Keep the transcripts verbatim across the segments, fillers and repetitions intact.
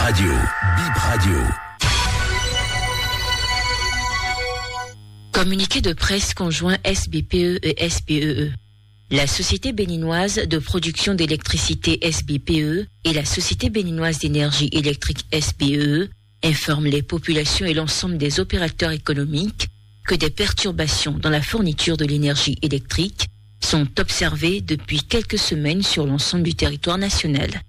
Radio, Bip Radio. Communiqué de presse conjoint S B P E et S P E E. La société béninoise de production d'électricité S B P E et la société béninoise d'énergie électrique S B E E informent les populations et l'ensemble des opérateurs économiques que des perturbations dans la fourniture de l'énergie électrique sont observées depuis quelques semaines sur l'ensemble du territoire national.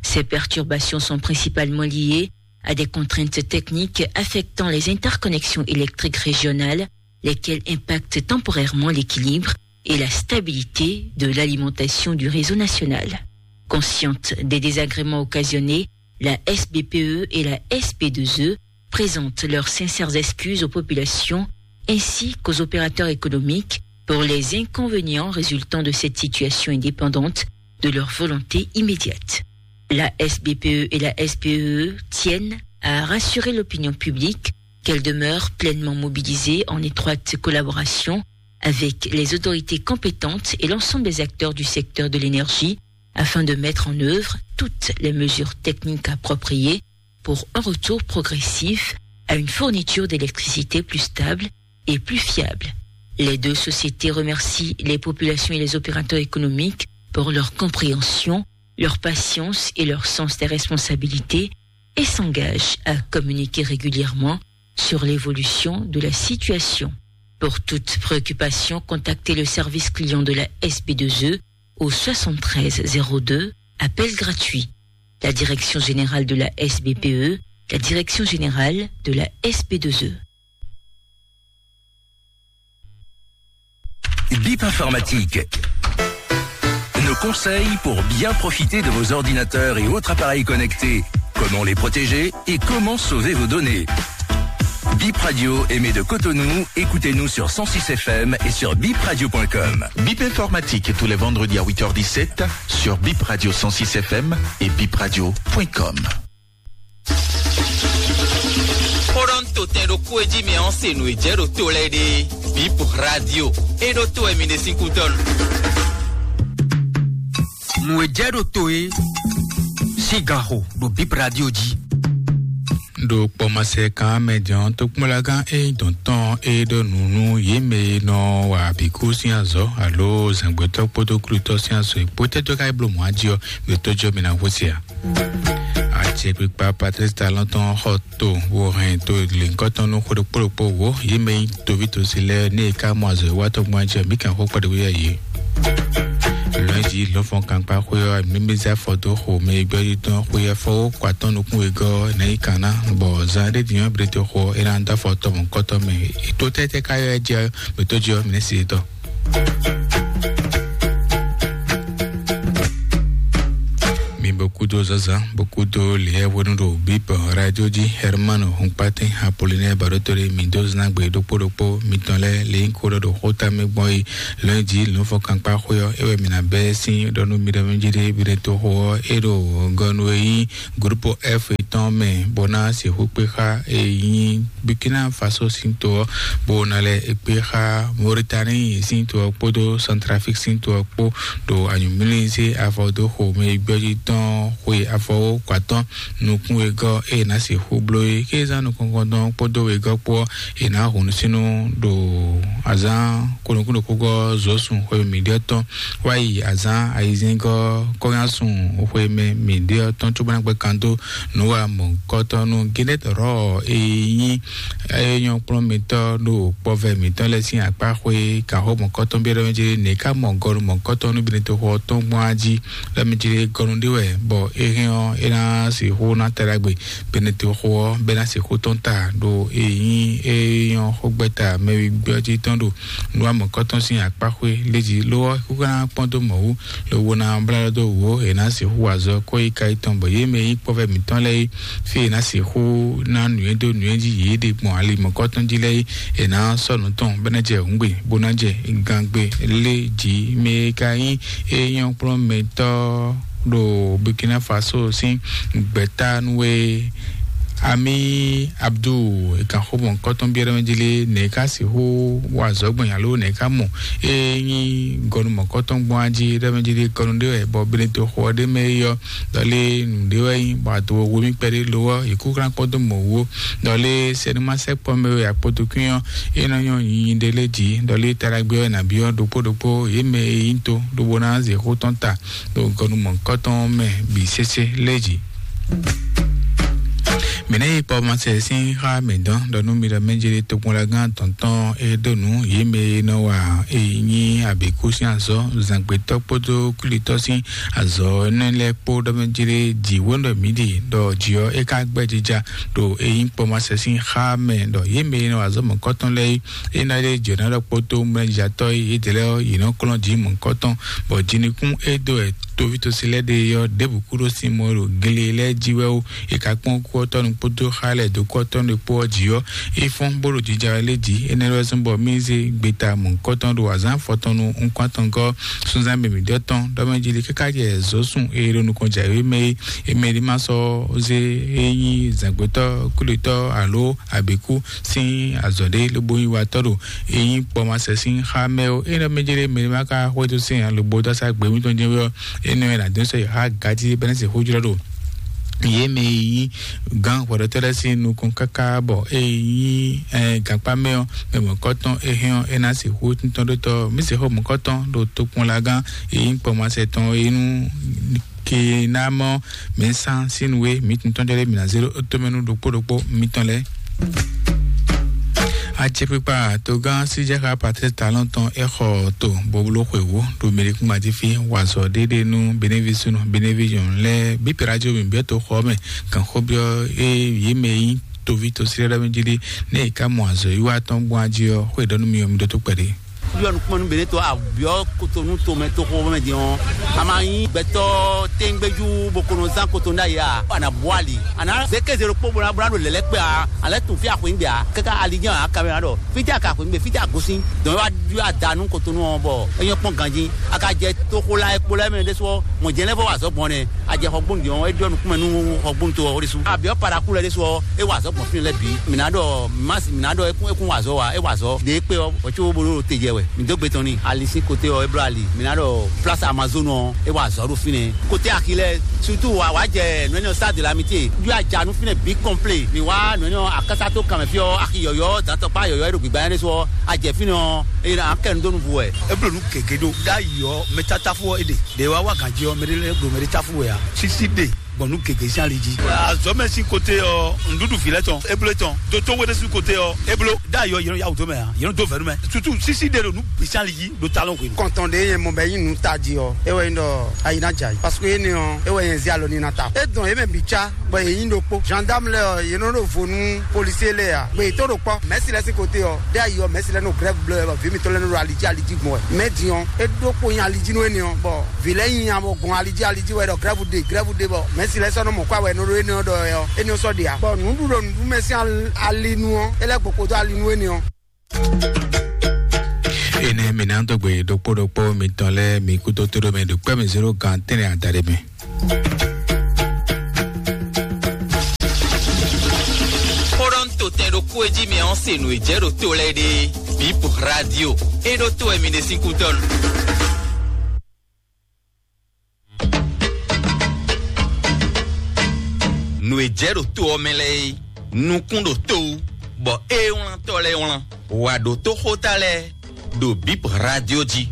Ces perturbations sont principalement liées à des contraintes techniques affectant les interconnexions électriques régionales, lesquelles impactent temporairement l'équilibre et la stabilité de l'alimentation du réseau national. Consciente des désagréments occasionnés, la S B P E et la S P deux E présentent leurs sincères excuses aux populations ainsi qu'aux opérateurs économiques pour les inconvénients résultant de cette situation indépendante de leur volonté immédiate. La S B P E et la S P E E tiennent à rassurer l'opinion publique qu'elles demeurent pleinement mobilisées en étroite collaboration avec les autorités compétentes et l'ensemble des acteurs du secteur de l'énergie afin de mettre en œuvre toutes les mesures techniques appropriées pour un retour progressif à une fourniture d'électricité plus stable et plus fiable. Les deux sociétés remercient les populations et les opérateurs économiques pour leur compréhension, leur patience et leur sens des responsabilités et s'engagent à communiquer régulièrement sur l'évolution de la situation. Pour toute préoccupation, contactez le service client de la S B deux E au soixante-treize zéro deux, appel gratuit. La direction générale de la S B P E, la direction générale de la S B deux E. Bip Informatique. Nos conseils pour bien profiter de vos ordinateurs et autres appareils connectés. Comment les protéger et comment sauver vos données. Bip Radio émet de Cotonou. Écoutez-nous sur cent six F M et sur bip radio point com. Bip Informatique tous les vendredis à huit heures dix-sept sur Bip Radio cent six F M et bip radio point com. Xó ɖɔ nú totɛn ɖokpó e jí mɛ ɔ́ se nǔ e jɛ ɖo to lɛ́ɛ ɖe. Bip Radio. E ɖo to wɛ mi ɖe sín kútɔ́ nu. Nǔ e jɛ ɖo to e sín gan xo ɖo Bip Radio jí. Ɖo kpɔmasɛ kan mɛ jɔn tokpɔnlagán e nyí dɔ̌n tɔn e ɖɔ nǔ nú yě mɛ e nɔ wa bǐkú sín azɔ̌ alo zǎngbetɔ́ kpódó klutɔ́ sín azɔ̌ e kpó tɛ́ dó ká yi bló mɔ̌ jí ɔ́, mɛ tó jɔ mi ná hwesí a? Acɛkpikpa Patrice Talon tɔn xɔ to, wo hɛn to lěhunkɔtɔn nú xó ɖokpó ɖokpó wǒ, yě mɛ nyí toví tosi lɛ́ɛ ní è ká mɔ azɔ̌ e wa tɔn gbɔn jí ɔ́, mǐ kɛn xó kpɛɖé wú yɛ yě. Lɔ̌nyijǐ lɔ̌nfɔn kankpa xwé ɔ́, mǐ mí zé afɔ dó xo mɛ e gbɛ́ jí tɔn xwé afɔ wó kɔ atɔ́ nukún wegɔ́ ɔ́, è nǎ yi kan ná, bɔ zan ɖé din ɔ́, blete xo ɔ́, é ná dó afɔ tɔn mɔ̌hunkɔtɔn mɛ. Tó tɛ́tɛ́ ká ylɔ́ ɛ jí ɔ́, mǐ tó jí ɔ́, mǐ nɛ́ se tɔ́. Mi bɔ kúdó zazan, bɔ kúdó lìyɛ hwenu ɖo Bip Radio jí. Hermano Hunkpatin, Apollinaire Baɖótolé, mi dó zán gbe ɖokpó ɖokpó mitɔn lɛ́ɛ lě nyí xó ɖɔ ɖo xóta mɛ gbɔn é. Lɔ̌nyijǐ lǒnfɔkankpa xwé ɔ́, é wɛ mǐ ná bɛ́ sín ɖɔ nú mi ɖɔ mɛ jí ɖé, mi ɖe toxo ɔ́, é ɖo gɔ́ nú e nyí Grupo F tɔn mɛ, bó ná sixú kpé xá e nyí Burkina Faso sín to ɔ́, bó ná lɛ́ kpé xá Mauritanie sín to ɔ́ kpódó Centrafrique sín to ɔ́ kpó, ɖo anyǔmlízé avɔ dó xo mɛ e gbɛ́ jí tɔn xwe afɔwó kɔ atɔ́ nukún wegɔ́ e è nǎ sixú bló é. Kézán nukɔn tɔn kpódó wegɔ́ kpó ɔ́, è nǎ hun nusínnú ɖo azǎn kɔnukúnɖokpógɔ́ zǒsun xwe mǐɖyɔ́ tɔn wá yi azǎn ayizɛ́ngɔ́ kɔ́nyásun xwe mɛ mǐɖyɔ́ tɔn cóbó ná gbɛ́ kan dó nǔ wa mɔ̌hunkɔtɔn nú Guinée Rɔ e nyí é nyɔ́ kplɔ́n mitɔ́ ɖo kpɔvɛ mǐtɔn lɛ́ɛ sín akpá xwé. Kanxó mɔ̌kɔtɔn byɔ́ ɖɔ mɛ jí nɛ̌ ká mɔ gɔnu mɔ̌kɔtɔn nú Benetexo ɔ́ tɔn gbɔn á jí? Ɖɔ mɛ jí gɔnu ɖé wɛ, bɔ é hɛn ɔ́, é ná sixú ná ta ɖagbe Benetexo ɔ́, bɔ é ná sixú tɔ́n ta ɖo e nyí é nyɔ́ xógbɛ́ta mɛwígbɔ́ jí tɔn ɖo nǔ wa mɔ̌kɔtɔn sín akpá xwé lé jí. Lo ɔ́, é kú ká ná kpɔ́n dó mɔ̌ wú, lobo ná blá ɖɔ dó wǔ ó, è nǎ sixú wa azɔ̌ kɔ́ yi ka yi tɔn, bɔ yě mɛ e nyí kpɔ́vɛ mǐtɔn lɛ́ɛ é, fí e è nǎ sixú ná nǔnywɛ́ dó nǔnywɛ́ jí yě ɖe gbɔn ali mɔ̌kɔtɔn jí lɛ́ɛ é, è nǎ sɔ́ nǔ tɔn bó ná jɛ hǔngbe, bó ná jɛ gangbe lé jí. Mɛ e ka nyí é nyɔ́ kplɔ́n mɛtɔ́ ɖo Burkina Faso sín gbɛ̌ta nú é Ami Abdu, e kan xó mɔ̌kɔtɔn byɔ́ ɖɔ mɛ jí lé, nɛ̌ ká sixú wa azɔ̌ gbɔn nya ló, nɛ̌ ká mɔ? Ée nyí gɔnu mɔ̌kɔtɔn gbɔn á jí ɖɔ mɛ jí lé, gɔnu ɖé wɛ bɔ bene to xɔ ɖé mɛ é yɔ, ɖɔ lé nǔ ɖé wɛ nyí bɔ ado wo mì kpɛɖé lo ɔ́, yě kú xlán kpɔ́ dó mɔ̌ wú. Ɖɔ lé sɛnúmasɛkpɔ mɛ wɛ akpɔtɔkún ɔ́, é nɔ nyɔ nyinyi ɖé lé jí, ɖɔ lé taɖagbe wɛ nǎ byɔ́ ɖokpó ɖokpó yě mɛ e nyí to ɖokpó ná zě xó tɔn ta ɖo gɔnu mɔ̌kɔtɔn mɛ bǐ sésé lé jí. Mǐ ná yi kpɔ́ masɛ sín xá mǐ dɔn ɖɔ nú mi ɖɔ mɛ jeli tokpɔnlagán tɔntɔn e ɖo nǔ yě mɛ e nɔ wa e nyí abǐkú sín azɔ̌ zǎngbetɔ́ kpódó kwlítɔ́ sín azɔ̌ énɛ́ lɛ́ɛ kpó ɖɔ mɛ jeli jǐ wǒ ɖɔ mǐ ɖi ɖɔ jǐ ɔ́ é ka gbɛ́ jija ɖo e nyí kpɔ́ masɛ sín xá mɛ ɖɔ yě mɛ e nɔ wa azɔ̌ mɔ̌kɔtɔn lɛ́ɛ é ná ɖe jǒnálɔ kpódó mlɛ́jǎtɔ́ e yědɛɛ lɛ́ɛ ɔ́, yě nɔ kplɔ́n jǐ mɔ̌hunkɔtɔn, bɔ jinukún e dó wɛ tovítɔ́sí lɛ́ɛ ɖe é ɔ́, ɖěbǔ kúɖó sin mɔ ɖo gle lɛ́ɛ jí wɛ ó. È ka kpɔ́n kú ɔ́ tɔ́ nu kpódó xá lɛ́ɛ dó kú ɔ́ tɔ́ nu kpó ɔ́ jí ɔ́, é fɔ́n bó ɖo jija wɛ lé jí. Énɛ́ lɛ́ɛ zɔ́n bɔ mì zé gbeta mɔ̌hunkɔtɔn ɖo azǎn afɔtɔn nu nukún atɔngɔ́ súnzán mɛ mǐɖɔtɔn ɖɔ mɛ jí lé káká jɛ zɔ̌ sun e ɖo nukɔn jǎwe mɛ é. È mɛ ɖé ma sɔ́ zé é nyí zǎngbetɔ́, kúlitɔ́ alo abǐkú sín azɔ̌ ɖé lobo nyi watɔ́ ɖo e nyí kpɔmasɛ sín xá mɛ ó. É nɔ mɛ jɛ ɖé mɛ ma ka xwedó sɛn ǎ lobo dó asá gbě mítɔn jɛ́n wɛ ɔ́, é nɔ ɛ nǎ dó sɔ́ yi xá gají bɛ́nɛ́ sixú jlɔ́ ɖo yě mɛ e nyí gǎn hwɛɖɔtɔ́ lɛ́ɛ sín nukɔn káká bɔ é nyí gankpá mɛ ɔ́, mɛ mɔ̌kɔtɔn é hɛn ɔ́, é ná sixú tíntɔ́n ɖó tɔ́. Mí sixú mɔ̌kɔtɔn ɖo tokpɔnlagán e nyí kpɔmasɛ tɔn é nú ke ná mɔ mɛ sán sín nú we mǐ tɔn jɔ ɖé mǐ ná zé ɖó tomɛnu ɖokpó ɖokpó mitɔn lɛ́ɛ. Acɛkpikpa togán síjɛxá Patrice Talon tɔn é xɔ to boblo xwewú ɖo mɛɖekúngban jí fí wazɔ ɖéɖé nú benévi súnú benévi nyɔ̌nu lɛ́ɛ bí pɛ́rájó mǐ byɔ́ toxɔ mɛ. Gǎnxó byɔ́ é yě mɛ nyí toví tosílɛ́ɖɔ́ mɛ jí ɖé nɛ́ è ká mɔ azɔ̌ yíwá tɔn gbɔn ají ɔ́, xó è ɖɔ nú mi ɔ́, mi ɖótó kpɛɖé. Yɔ nukúnmɛ nú Beneto abyɔ Kotonu tomɛ toxo mɛ din ɔ́, a ma nyí gbɛtɔ́ téŋgbéjú bó ko nɔ zán Kotonu ɖ'ayǐ a? A nǎ bú ali, a nǎ zé kéze ɖokpó bó ná bó ná ɖo lɛ̌lɛ́ kpé a? A lɛ́ tunwun fí axwǐngbé a? Káká ali jɛ́n a kamɛ ɖɔ fítɛ́ a ka axwǐngbé, fítɛ́ a gosín? Dɔn é wá ɖyɔ́ ada nú Kotonu ɔ́ bɔ é nyɔ́ kpɔ́n ganjí. A ka jɛ toxo la e kpo lɛ́ɛ mɛ ɖésú ɔ́, mɔ̌ jɛ́n lɛ́ vɔ wa azɔ̌ gbɔn nɛ́. A jɛ xɔgbónu din ɔ́, é ɖyɔ́ nukúnmɛ nú xɔgbónu to ɔ́ ɖésú. Abyɔ paraku lɛ́ɛ ɖésú ɔ́, é wa azɔ̌ gbɔn fínɛ́ lɛ́ɛ bǐ. Mǐ ná ɖɔ mas, mǐ ná ɖɔ é kún é kún wa azɔ̌ wa, é wa azɔ̌. Ɖě é kpé ɔ́, hwɛ̌ có bó ɖo te jɛ wɛ. Mǐ dó gbe tɔn n'i. Ali sín kote ɔ́, é bló ali. Mǐ ná ɖɔ plása Amazonu ɔ́, é wa azɔ̌ ɖo fínɛ́. Kote axi lɛ́ɛ, sutu wa wá jɛ nǔ énɛ́ ɔ́, Stade de l'Amitié. Ɖó aja nú fínɛ́ bǐ kɔnplé. Mǐ wá nǔ énɛ́ ɔ́, akásá tó kanmɛ fí ɔ́, axi yɔ̌yɔ́, dantɔkpá yɔ̌yɔ́ é ɖo gbǐgbá nyɛ ɖésú ɔ́, a jɛ fínɛ́ ɔ́, é ná kɛ nu dó nu vú wɛ. É bló nǔ gěgé ɖó. Ɖ'ayǐ ɔ́, mɛ tátáfú ɔ́ é ɖe. Ɖě wá wá gǎn jí ɔ́, mɛ ɖé lɛ́ɛ ɖo mɛ ɖé táfú wɛ ǎ. Sísí ɖe gbɔn nǔ gěgé sín ali jí. Azɔ̌ mɛ sín kote ɔ́, nǔɖuɖu vǐ lɛ́ɛ tɔn, é bló tɔn. Dotó wé ɖésú kote ɔ́, é bló. Ɖ'ayǐ ɔ́, yě nɔ yá wǔ dó mɛ ǎ. Yě nɔ dó vɛ̌ nú mɛ. Sutu sísí ɖe ɖo nǔ bǐ sín ali jí ɖo talɔn hwenu. Kɔntɔn ɖě nyɛ mɔ bɔ é nyí nǔ tají ɔ́, é wɛ nyí ɖɔ ayi ná jɛ ayǐ. Parce que énɛ́ ɔ́, é wɛ nyɛ zé alɔ ní ná ta. É dɔn yě mɛ bǐ cá, bɔ yě nyí ɖokpó. Gendarme lɛ́ɛ ɔ́, yě nɔ ɖo vo nú policier lɛ́ɛ ǎ. Gbè yě tó ɖo kpɔ́. Mɛ̌si lɛ́ɛ sín kote ɔ́, ɖé ayi ɔ́, mɛ̌si lɛ́ɛ nɔ grève bló wɛ, bɔ vǐ mǐtɔn lɛ́ɛ nɔ ɖo ali jí ali jí gbɔn wɛ. Mɛ̌ din ɔ́, é ɖó kpo nyi ali jí nú énɛ́ ɔ́, bɔ vǐ lɛ́ɛ nyi nya bɔ gbɔn ali jí ali jí wɛ ɖɔ grève ɖe, grève ɖe, bɔ mɛ̌si lɛ́ɛ sɔ́ nɔ mɔ kó awɛ nɔ ɖó énɛ́ ɔ́ ɖɔ wɛ ɔ́, énɛ́ ɔ́ sɔ́ ɖe ǎ. Bɔ nǔɖuɖu nǔɖumɛ sín al-, ali nu ɔ́, é lɛ́ gboko dó ali nú énɛ́ ɔ́. Énɛ́ mi ná dó gbe ɖokpó ɖokpó mitɔn lɛ́ɛ mi kúdó tóɖó mɛ ɖo kpɛ́ mi zéro gan tɛ́nɛ adaɖé mɛ. Xóɖɔ́ntotɛn ɖokpó e jí mi ɔ́ se nǔ e jɛ ɖo to lɛ́ɛ ɖe. Bip Radio. E ɖo to wɛ mi ɖe sín kútɔ́. Nǔ e jɛ ɖo to ɔ́ mɛ lɛ́ɛ é, nukún ɖo to wú, bɔ é wlántɔ́ lɛ́ɛ wlán. Wǎ ɖó tó xóta lɛ́ɛ ɖo Bip Radio jí.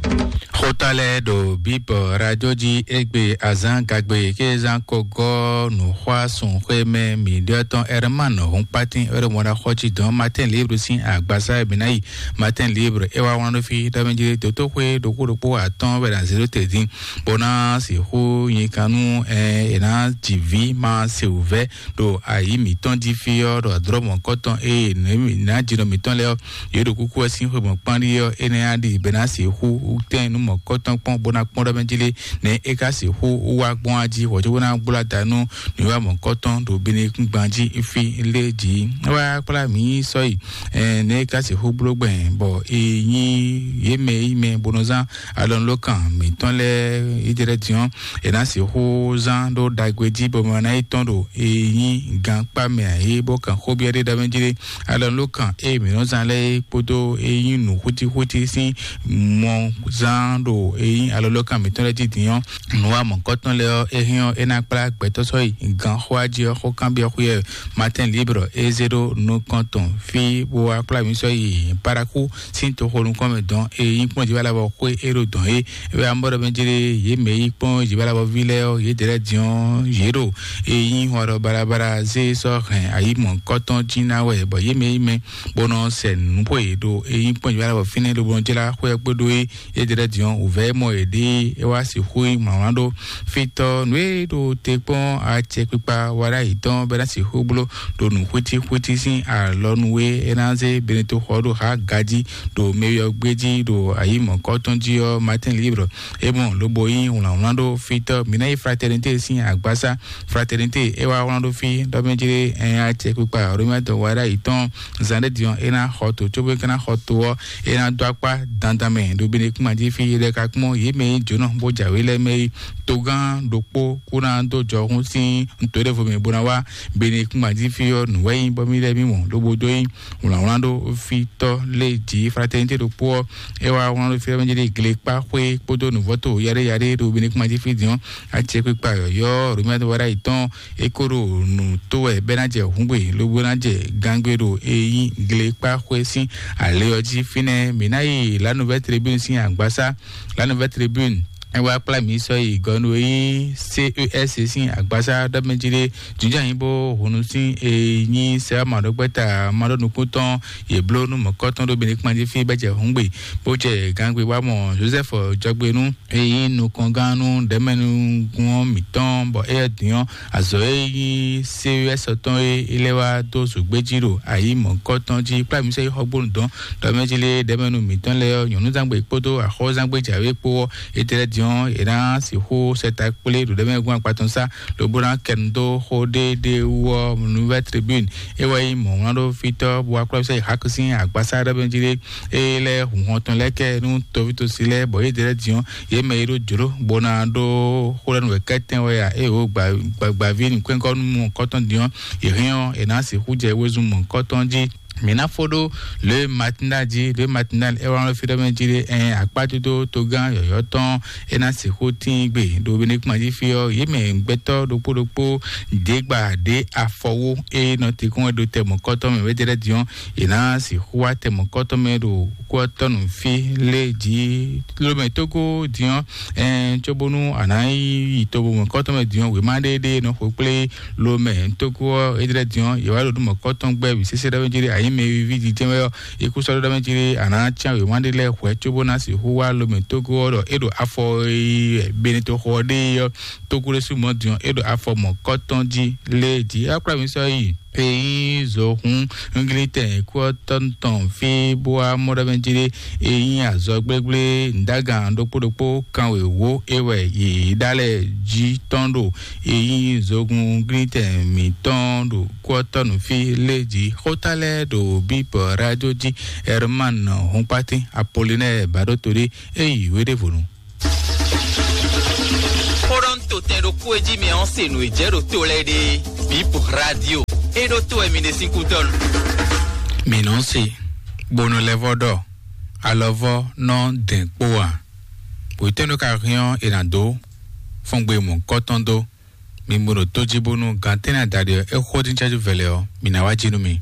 Xóta lɛ́ɛ ɖo Bip Radio jí égbé azán gagbe ké zán ko gɔ́ nǔxwá sun xwé mɛ mǐɖɔtɔn Herman Hunkpatin wɛ ɖo mɔ ná xɔ jí dɔn Matin Libre sín agbasa e mǐ ná yi. Matin Libre é wá wlán ɖó fí ɖɔ mɛ jí dotóxwé ɖokpó ɖokpó atɔ́ɔ́n wɛ ná zé ɖó te dín bó ná sixú nyi kan nú ɛ è ná ji vǐ ma se wǔvɛ́ ɖo ayǐ mǐtɔn jí fí ɔ́ ɖo adrɔ̌ mɔ̌kɔtɔn eye nǔ e mǐ ná jinɔ mǐtɔn lɛ́ɛ ɔ́, yě ɖo kúkú ɔ́ sín xwe mɔ̌kpán ɖíe ɔ́, énɛ́ á ɖi bɛ ná sixú tɛ́n nú mɔ̌kɔtɔn kpɔ́n bó ná kpɔ́n ɖɔ mɛ jí lé, nɛ̌ é ka sixú wá gbɔn ají hwɛ̌ cóbó ná gbló adá nú nǔwiwa mɔ̌kɔtɔn ɖo Benekúngban jí fí lé jí. É wá kplá mǐ sɔ́yi, nɛ̌ é ka sixú bló gbɛn bɔ è nyí yě mɛ e nyí mɛ bó nɔ zán alɔnulókan mǐtɔn lɛ́ɛ yi jɛ lɛ́ɛ din ɔ́, è nǎ sixú zán ɖó ɖagbe jí bɔ mɛ ná yi tɔn ɖo è nyí gankpá mɛ ǎ é bó kan xó byɔ́ ɖé ɖɔ mɛ jí ɖé. Alɔnulókan e mǐ nɔ zán lɛ́ɛ é kpódó e nyí nǔ xwítíxwítí sín mɔ zán ɖo e nyí alɔnulókan mǐtɔn lɛ́ɛ jí din ɔ́, nǔwa mɔ̌kɔtɔn lɛ́ɛ ɔ́, é hɛn ɔ́, é ná kplá gbɛtɔ́ sɔ́yi gan xó ají ɔ́ xó kanbyɔ́ xwé wɛ. Matin Libre é zé ɖó nukɔn tɔn fí bó wá kplá mǐ sɔ́yi Paraku sín toxo nukɔn mɛ dɔn e nyí kpɔ́n jǐ wá lɛ́ɛ bɔ xwé é ɖo dɔn é. É wɛ amɔ́ ɖɔ mɛ jlé yě mɛ yí kpɔ́n jǐ wá lɛ́ɛ bɔ ví lɛ́ɛ ɔ́, yě dɛ́ lɛ́ɛ din ɔ́, yě ɖo e nyí hɔn ɖɔ balabala zé sɔ́ hɛn ayǐ mɔ̌kɔtɔn jí ná wɛ bɔ yě mɛ yí mɛ bó nɔ sɛ nǔ xwe ɖo e nyí kpɔ́n jǐ wá lɛ́ɛ bɔ fínɛ́ lobo nɔ jlá xwé ɔ́ kpódó é. Yé jɛ ɖɔ din ɔ́, wǔvɛ́ mɔ yě ɖée é wá sixú nyí mlɔ́mlɔ́ ɖó fítɔ́ nǔ e ɖo te kpɔ́n acɛkpikpa wa ɖ'ayǐ tɔn bɔ é ná sixú bló ɖo nǔ xwítíxwítí sín alɔ nú é é ná zé Beneto xɔ ɖo xá gají ɖo mɛyɔgbé jí ɖo ayǐ mɔ̌kɔtɔn jí ɔ́. Matin Libre é mɔ lobo nyí wlǎnwlán ɖó fítɔ́. Mǐ ná yi Fraternité sín agbásá. Fraternité é wá wlán ɖó fí ɖɔ mɛ jí ɖé ɛn acɛkpikpa Romiatɔ wa ɖ'ayǐ tɔn zan ɖé din ɔ́, é ná xɔ to cóbó é ka ná xɔ to ɔ́, é ná dó akpá dandan mɛ ɖo Benekúnma jí fí. Yě ɖɛ ka kpɔ́n yě mɛ e nyí jǒnɔ bó jǎwe lɛ́ɛ mɛ é. Togán ɖokpó kú ná dó jɔhún sín nǔ ɖěvo mɛ bó ná wá Benekúnma jí fí ɔ́, nǔ wɛ nyí bɔ mì lɛ́ɛ mì mɔ lobo dó nyí wlǎnwlán ɖó fítɔ́ lé jǐ. Fraternité ɖokpó ɔ́, é wá wlán ɖó fí ɔ́ mɛ jí ɖé glekpá xwé kpódó nǔvɔ́to yaɖé yaɖé ɖo Benekúnma jí fí din ɔ́. Acɛkpikpa yɔ̌yɔ́ Romiatɔ wa ɖ'ayǐ tɔn é ko ɖo nǔ tó wɛ bɔ é ná jɛ hǔngbe lobo ná jɛ gangbe ɖo e nyí glekpá xwé sín alě ɔ́ jí. Fínɛ́ mǐ ná yi La Nouvelle Tribune sín agbásá. La Nouvelle Tribune é wá kplá mǐ sɔ́ yi gɔnu e nyí C E S sín agbásá ɖɔ mɛ jí ɖé jǐnjɔ́n nyí bó hunu sín e nyí sɛ́wá maɖɔgbɛ́ta maɖɔnukúntɔn yě bló nú mɔ̌kɔtɔn ɖó Benekúnma jí fí bɔ é jɛ hǔngbe bó jɛ gangbe wá mɔ Joseph jɔgbenú e nyí nukɔngán nú ɖɛ̌mɛnúgún ɔ́ mǐtɔn, bɔ éyɛ́ din ɔ́, azɔ̌ e nyí C E S tɔn e é lɛ́ wá dó zǒgbé jí ɖo ayǐ mɔ̌kɔtɔn jí kplá mǐ sɔ́ yi xɔgbónu dɔn ɖɔ mɛ jí lé ɖɛ̌mɛnú mǐtɔn lɛ́ɛ ɔ́, nyɔ̌núzangbe kpódó axɔ́zangbe jǎwe kpó ɔ́, étɛ́ lɛ́ɛ din ɔ́, è nǎ sixú sɛ ta kplé ɖo ɖɛ̌mɛnúgún akpa tɔn sá lobo ná kɛ nu dó xó ɖéɖé wú ɔ́. Nouvelle Tribune é wɛ nyí mɔ̌ wlán ɖó fítɔ́ bó wá kplá sɔ́ yi Hak sín agbásá ɖɔ mɛ jí lé é lɛ́ hun hɔn tɔn lɛ́ɛ kɛ nú toví tosi lɛ́ɛ, bɔ yě ɖe lɛ́ɛ din ɔ́, yě mɛ e ɖó jlǒ bó ná ɖó xó lɛ́ɛ nú wɛ kɛ́tɛn wɛ a, ée wǒ gbagbaví nǔkwɛ́nkɔ́nú mɔ̌kɔtɔn din ɔ́, yě hɛn ɔ́, è nǎ sixú jɛ wezun mɔ̌kɔtɔn jí. Mǐ ná fó ɖó Le Matinal jí. Le Matinal é wá nɔ fí ɖɔ mɛ jí ɖé ɛn akpájúdó togán yɔ̌yɔ́ tɔn é ná sixú tín gbe ɖo Benekúnma jí fí ɔ́, yě mɛ gbɛtɔ́ ɖokpó ɖokpó ɖě gba ɖě afɔwó é nɔ te kɔn wɛ ɖo tɛ mɔ̌kɔtɔn mɛ wɛ jɛ lɛ́ɛ din ɔ́, yě ná sixú wá tɛ mɔ̌kɔtɔn mɛ ɖo kú ɔ́ tɔn nú fí lé jí. Lomɛ Tógó din ɔ́, ɛn cóbónú a nǎ yi to mɔ̌kɔtɔn mɛ din ɔ́, wěma ɖé ɖé nɔ xo kplé lomɛ Tógó ɔ́. É jlɛ́ din ɔ́, yě wá ɖo nú mɔ̌kɔtɔn gbɛ́ wǐ sésé ɖɔ mɛ jí ɖé ayǐ mɛ e víví jijɛ wɛ ɔ́, é kú sɔ́ ɖɔ mɛ jí ɖé a nǎ cyán wěma ɖé lɛ́ɛ hwɛ̌ cóbó ná sixú wá lomɛ Tógó ɔ́ ɖɔ é ɖo afɔ e Beneto xɔ ɔ́ ɖe ɔ́, Tógó ɖésú mɔ̌ din ɔ́, é ɖo afɔ mɔ̌kɔtɔn jí lé jí. É wá kplá mǐ sɔ́ yi. Peyi zohun Ngilitɛn kú ɔ́ tɔn tɔn fí bó wá mɔ ɖɔ mɛ jí ɖé e nyí azɔ gblégblé ndágan ɖokpó ɖokpó kanwěwó é wɛ yě ɖa lɛ jí tɔn ɖo e nyí zogun Ngilitɛn mǐtɔn ɖo kú ɔ́ tɔn nú fí lé jí. Xóta lɛ́ɛ ɖo bíbɔ rájó jí. Herman Hunkpatín Apolinɛ́ɛ Bǎɖótolí é yi wéɖévonu. Xó ɖɔ ń to tɛn ɖokpó e jí mi ɔ́ se nǔ e jɛ ɖo to lɛ́ɛ ɖe. Bip Radio é ɖó to wɛ mi ɖe sín kútɔ́ nu. Mi nɔ se bónú lɛ́ vɔ ɖɔ alɔvɔ nɔ dɛn kpó a? Wětɛ́nu ka hɛn ɔ́ è nǎ dó fɔ́n gbe mɔ̌kɔtɔn dó. Mi mɔ ɖo tó jí bónú gantɛ́nɛ adaɖé ɔ́ é xó dín cájú vɛlɛ ɔ́, mi ná wá jí nú mi.